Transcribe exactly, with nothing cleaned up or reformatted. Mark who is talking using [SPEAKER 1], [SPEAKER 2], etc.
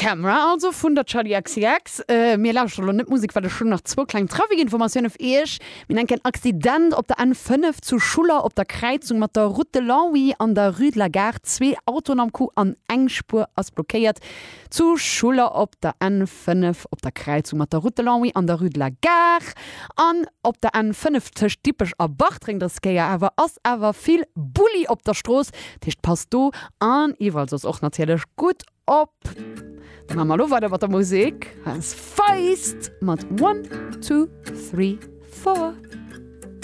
[SPEAKER 1] Camera also vun der Charli XCX. Äh, mir lauschteren elo net Musek, well ech hunn nach zwou kleng Trafikinformatioune fir iech. Mir hunn en Accident op der N fënnef zu Schuller op der Kräizung mat der Route de Longwy an der Rue de la Gare. Zwee Autoen am Coup an eng Spuer ass blockéiert. Zu Schuller op der N fënnef op der Kräizung mat der Route de Longwy an der Rue de la Gare. An op der N fënnef tëscht Dippech a Bartreng dës Kéier awer ass awer vill Bulli op der Strooss. Dat heescht passt do an iwwerall soss och natierlech gutt op. Da maache mer elo weider mat der Musek. Hei ass Feist mat One, Two, Three, Four.